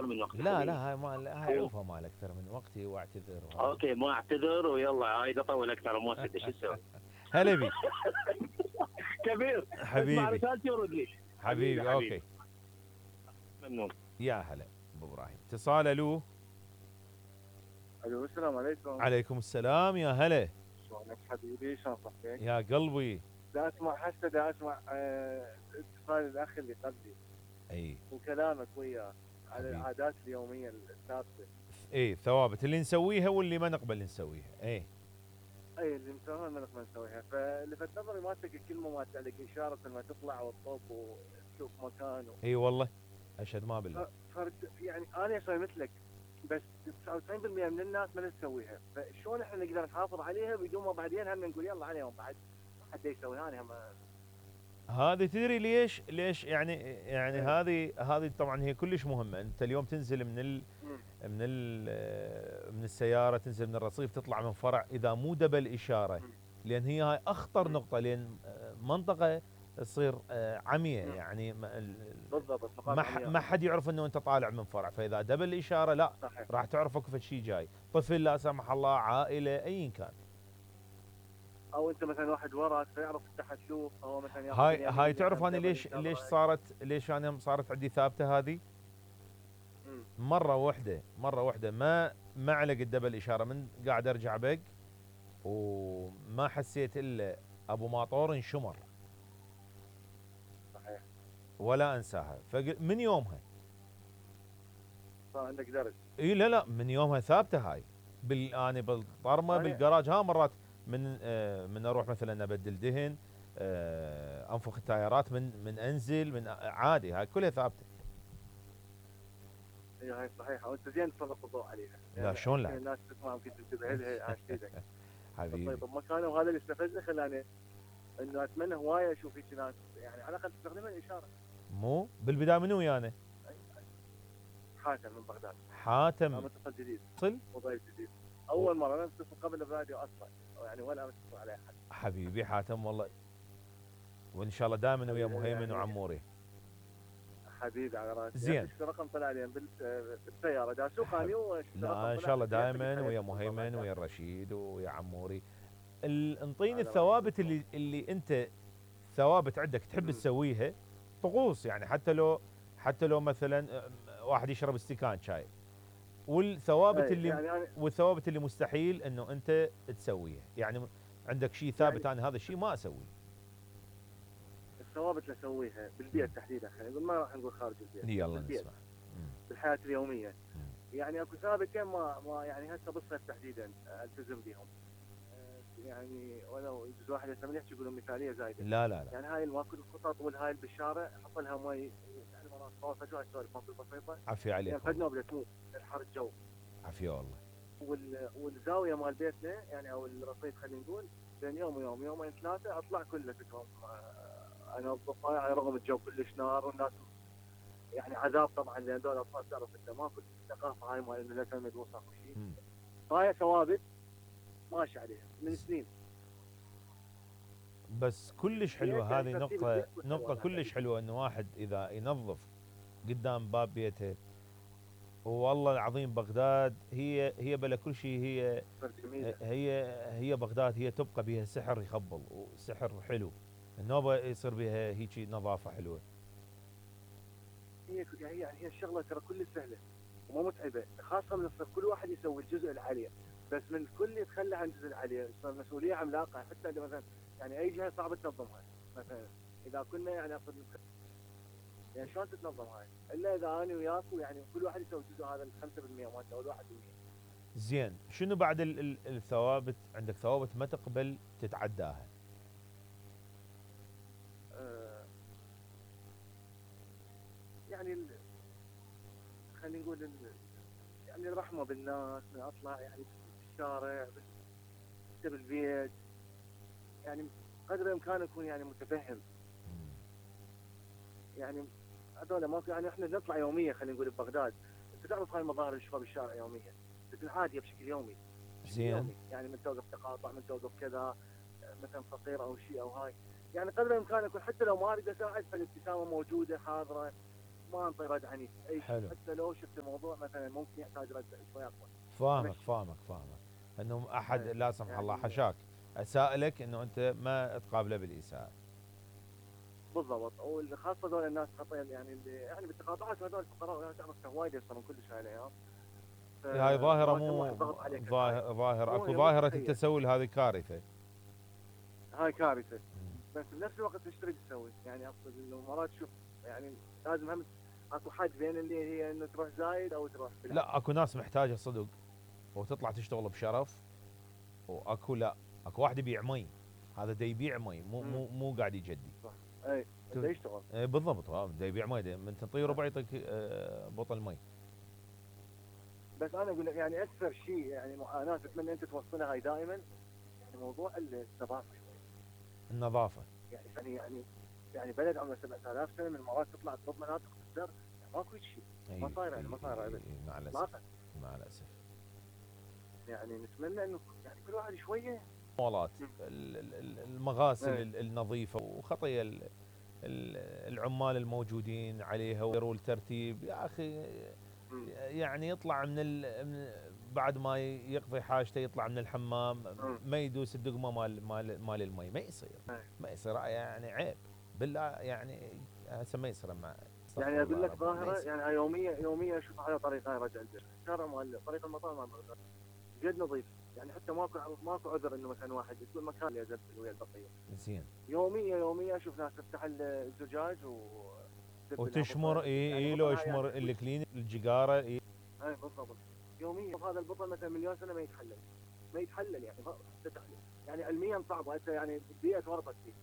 اكثر من وقت لا حبيبي. لا، هاي ما هاي عوفه مال اكثر من وقتي واعتذر وهذا. اوكي ما اعتذر ويلا عايد اطول اكثر ما تدري شو اسوي. هلا بيك كبير. اسمع حبيبي. رسالتي ورد لي. حبيبي اوكي. ممنون. يا هلا ابو ابراهيم. اتصال. الو. الو السلام عليكم. عليكم السلام يا هلا. شلونك حبيبي؟ شلون صحتك؟ يا قلبي. دا اسمع هسه دا اسمع اتصال الاخ اللي قبلي اي وكلامك وياه على حبيبي. العادات اليوميه الثابته. اي الثوابت اللي نسويها واللي ما نقبل نسويها. اي اللي مسويها ما نقدر نسويها، فلفت نظري مالتك الكلمه مالت عليك اشاره لما تطلع وتطب وتشوف مكان اي والله اشهد ما بالله. يعني انا اسوي مثلك، بس 99% من الناس ما تسويها، فشلون احنا نقدر نحافظ عليها بدون ما بعدين هم نقول يلا عليهم بعد حد يسويها؟ انا هم هذه تدري ليش يعني هذه طبعا هي كلش مهمه. انت اليوم تنزل من السياره، تنزل من الرصيف، تطلع من فرع، اذا مو دبل اشاره، لان هي هاي اخطر نقطه، لان منطقه تصير عمية، يعني بالضبط ما حد يعرف انه انت طالع من فرع، فاذا دبل اشاره لا صحيح. راح تعرف اكو شيء جاي، طفل لا سمح الله، عائله، ايا كان. او انت مثلا واحد وراك فيعرف تحت شوف، او مثلا هاي تعرف انا ليش انا صارت عندي ثابته هذه؟ مره واحده ما علق الدبل اشاره، من قاعد ارجع بق وما حسيت الا ابو ماطور انشمر. صحيح. ولا انساها، من يومها صار عندك درج. اي لا من يومها ثابته هاي. انا بالطرمه بالجراج، مرات من اروح مثلا ابدل دهن، انفخ التايرات، من انزل، من عادي، هاي كلها ثابته. اي هاي صحيحه، وانت زين تسلط الضوء عليها. لا شلون لا؟ الناس تسمع ممكن تنتبه لها عاش ايدك. حبيبي. طيب بمكانه، وهذا اللي استفزني خلاني انه اتمنى هوايه اشوف هيك ناس، يعني على الاقل تستخدمها الاشاره. مو بالبدايه منو ويانا؟ حاتم من بغداد. حاتم متصل جديد. صل وضيف جديد. اول مره انا اتصل قبل الراديو اصلا، يعني ولا اتصل على احد. حبيبي حاتم والله، وان شاء الله دائما ويا مهيمن وعموري. حبيبي على راسي. زين. رقم طلع لي بالسياره دا اسوق انا. لا ان شاء الله دائما ويا مهيمن ويا الرشيد ويا عموري. انطيني الثوابت اللي انت ثوابت عندك تحب تسويها، طقوس يعني، حتى لو مثلا واحد يشرب استكان شاي، والثوابت والثوابت اللي مستحيل انه انت تسويها، يعني عندك شيء ثابت يعني انا هذا الشيء ما اسويه. الثوابت اللي اسويها بالبيت تحديدا، خلينا نقول ما راح نقول خارج البيت. يلا نسمع. بالحياه اليوميه. يعني اكو ثابتين ما يعني هسه بالصيف تحديدا التزم بهم. يعني ولو يجوز واحد يسمع يحكي يقولون مثاليه زايده. لا يعني هاي ماكو الخطط والهاي بالشارع، حط لها مي، يعني مرات صور فجاه سوالف ماكو بسيطه. عافيه عليك. يعني فد نوبله تموت الحر الجو. عافيه والله. والزاويه مال بيتنا يعني او الرصيف خلينا نقول بين يوم ويوم، يومين ثلاثه اطلع كله فيكم انظفها، يعني رغم الجو كلش نار والناس يعني عذاب طبعا، لان هذول الاطفال تعرف انت ماكو الثقافه هاي مال انه لا تلمد وسخ وشيء. فهاي ثوابت ماشي عليها من سنين. بس كلش حلوه هذه نقطه كلش حلوه، انه واحد اذا ينظف قدام باب بيته. والله العظيم بغداد هي بلا كل شيء، هي بغداد هي تبقى بها سحر يخبل وسحر حلو، النوبه يصير بها هيك نظافه حلوه. هي الشغله ترى كل سهله وما متعبه، خاصه من الصيف كل واحد يسوي الجزء اللي عليه، بس من الكل يتخلى عن الجزء اللي عليه، صار مسؤوليه عملاقه. حتى اذا مثلا يعني اي جهه صعبه تنظمها، مثلا اذا كنا يعني اقصد يعني شلون تتنظم هاي؟ الا اذا انا وياك يعني كل واحد يسوي الجزء هذا ال 5% مالته او ال 1%. زين، شنو بعد الثوابت؟ عندك ثوابت ما تقبل تتعداها؟ يعني خلينا نقول يعني الرحمه بالناس، من اطلع يعني بالشارع بالبيت، يعني قدر الامكان اكون يعني متفهم. يعني هذول ما يعني احنا نطلع يوميا، خلينا نقول ببغداد انت تعرف هاي المظاهر اللي نشوفها بالشارع يوميا، بس العاديه بشكل يومي. زين. يعني من توقف تقاطع، من توقف كذا مثلا فقير او شيء او هاي، يعني قدر الامكان اكون حتى لو ما اريد اساعد فالابتسامه موجوده حاضره، ما انطي رد عنيف اي حلو. شيء، حتى لو شفت الموضوع مثلا ممكن يحتاج رد شوي اقوى. فاهمك ماشي. فاهمك فاهمك انه احد إيه. لا سمح الله يعني حشاك اسائلك انه انت ما تقابله بالاساءه. بالضبط، وخاصه ذول الناس خطير يعني اللي يعني بالتقاطعات هذول الفقراء تعرف وايد يصيرون كلش عليهم. هاي ظاهره فلازم واحد مو ضغط عليك ظاهر مو اكو هي ظاهره تخيل. التسول، هذه كارثه. هاي كارثه. بس بنفس الوقت ايش تريد تسوي؟ يعني اقصد انه مرات شوف يعني لازم هم اكو حد بين اللي هي انه تروح زايد او تروح بالعكس. لا اكو ناس محتاجه صدق وتطلع تشتغل بشرف، واكو لا اكو واحد يبيع مي، هذا دا يبيع مي مو قاعد يجدي. اي بده يشتغل. بالضبط، دا يبيع مي، من تنطيه ربع يعطيك بطل مي. بس انا اقول لك يعني اكثر شيء يعني معاناه اتمنى انت توصلها هاي دائما، يعني موضوع النظافه شوي. النظافه يعني بلد عمره 7000 سنه من المرات تطلع تضرب مناطق تسر، يعني ماكو شيء. ما صاير يعني ما صاير ابدا. مع الاسف اطلاقا. مع الاسف. يعني نتمنى انه يعني كل واحد شويه مولات المغاسل إيه. النظيفه، وخطيه العمال الموجودين عليها ويروا الترتيب يا اخي. يعني يطلع بعد ما يقضي حاجته يطلع من الحمام ما يدوس الدقمه مال المي، ما يصير. ما يصير يعني عيب بالله، يعني هسه ما يصير مع يعني اقول لك ظاهره يعني يوميا اشوف على طريق هاي رجع البيت، الشارع مال طريق المطار مال بغداد جد نظيف، يعني حتى ماكو عذر انه مثلا واحد يكون مكان اللي يزبل ويا البقيه. زين. يوميا اشوف ناس تفتح الزجاج وتشمر يعني لو يشمر الكلين الجقاره اي بالضبط. يوميا هذا البطل مثلا مليون سنه ما يتحلل يعني يعني علميا صعب هسه، يعني البيئه تورطت فيه.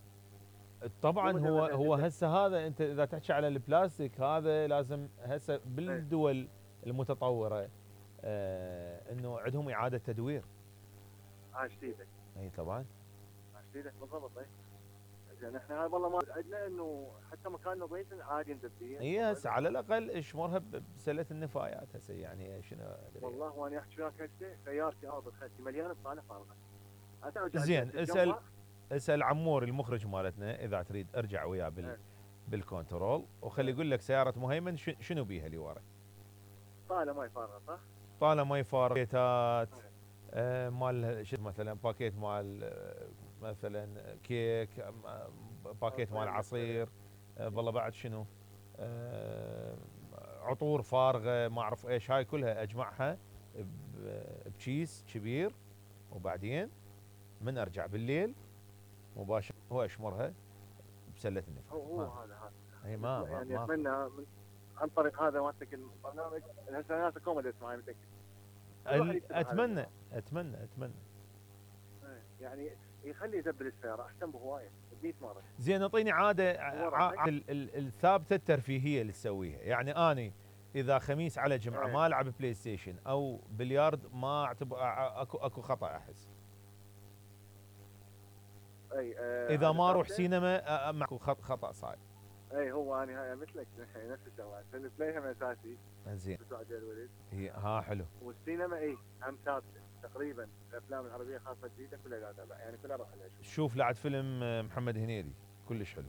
طبعا هو هسه هذا انت اذا تحكي على البلاستيك هذا لازم هسه بالدول المتطوره انه عندهم اعاده تدوير. عاش ايدك. اي طبعا. عاش ايدك بالضبط. اي زين احنا هاي والله ما عندنا انه حتى مكان نظيف عادي ندبيه. اي هسه على الاقل اشمرها بسله النفايات هسه، يعني شنو والله وانا احكي وياك هسه سيارتي ارض خلتي مليانه بطاله فارغه. زين اسال عمور المخرج مالتنا اذا تريد ارجع وياه بالكنترول وخلي يقول لك سياره مهيمن شنو بيها اللي ورا. طاله ماي فارغه صح؟ طاله ماي فارغه، باكيتات مال شو مثلا باكيت مال مثلا كيك، باكيت مال عصير، والله بعد شنو عطور فارغه ما اعرف ايش، هاي كلها اجمعها بكيس كبير، وبعدين من ارجع بالليل مباشره هو اشمرها بسله النفايات. هو هذا اي ما يعني ما اتمنى عن طريق هذا مالتك البرنامج هسه ناس كوميدي معي متاكد. اتمنى يعني يخلي يدبر السياره احسن بهوايه 100 مره. زين اعطيني عاده الثابته الترفيهيه اللي تسويها، يعني اني اذا خميس على جمعه ما العب بلاي ستيشن او بليارد ما اعتبر اكو خطا احس. اذا ما اروح سينما ماكو خطا صاير. اي هو انا مثلك نفس الشغلات، البلاي هم اساسي. زين. الولد هي حلو. والسينما هم ثابته تقريبا، الافلام العربيه خاصه جديده كلها قاعد اتابع، يعني كلها اروح عليها. شوف لعد فيلم محمد هنيدي كلش حلو.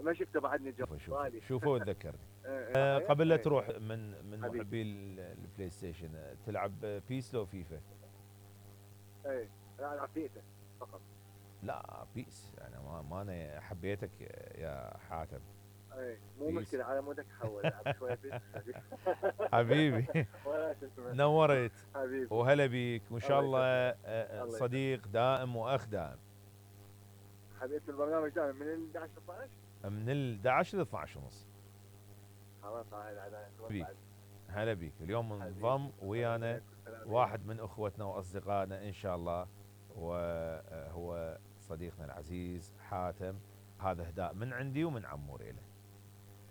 ما شفته بعدني شوفه وتذكرني. قبل لا تروح من محبي البلاي ستيشن تلعب بيس لو فيفا؟ اي لا العب فيفا فقط. لا بيس انا ما انا حبيتك يا حاتم. اي مو مشكله على مودك حول العب شويه بيس. حبيبي نورت حبيبي وهلا بيك، وان شاء الله صديق دائم واخ دائم. حبيت البرنامج دائما من ال 11 ل 12 من ال 11 ل 12 ونص. خلاص هلا بيك. اليوم منضم ويانا واحد من اخوتنا واصدقائنا ان شاء الله، وهو صديقنا العزيز حاتم. هذا اهداء من عندي ومن عموري له.